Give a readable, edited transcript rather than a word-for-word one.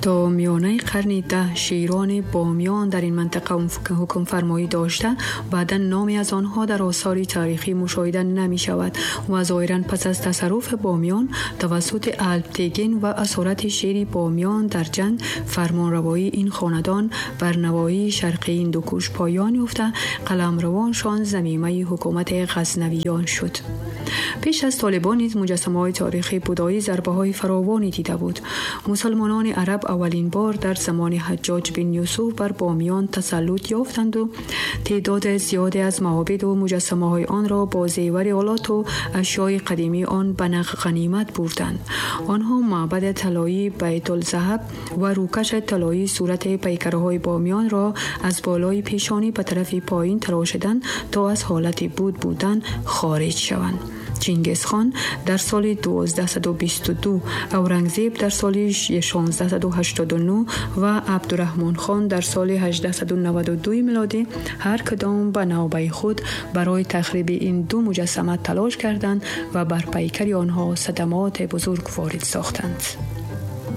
То миёнаи қарни 10 широни Бомиён дар ин минтақа ҳукмфармоӣ дошта, баъдан номе аз онҳо дар осори таърихӣ мушоҳида намешавад ва зоҳиран пас аз тасарруфи Бомиён тавассути Алптегин ва асорати шери Бомиён дар ҷанг фармонравоии ин хонадон бар навоҳии шарқии Ҳиндукуш поён ёфта, қаламравоншон замимаи ҳукумати Ғазнавиён шуд. Пеш аз Толибон низ муҷассамаҳои таърихии будоӣ зарбаҳои фаровоне дида буд. Мусулмонони араб аввалин бор дар замони Ҳаҷҷоҷ бин Юсуф бар Бомиён тасаллут ёфтанду теъдоди зиёде аз маобиду муҷассамаҳои онро бо зевари олоту ашёи қадимии он ба ғанимат бурданд. Онҳо маъбади талоии Байтулзаҳаб ва рӯкаши талоии сурати пайкарҳои Бомиёнро аз болои пешонӣ ба тарафи поин тарошиданд, то аз ҳолати буд будан хориҷ шаванд. Чингизхон дар соли 1222, Аврангзеб дар соли 1689 ва Абдураҳмонхон дар соли 1892 милодӣ ҳар кадом ба навбаи худ барои тахриби ин ду муҷассама талош карданд ва бар пайкари онҳо садамоти бузург ворид сохтанд.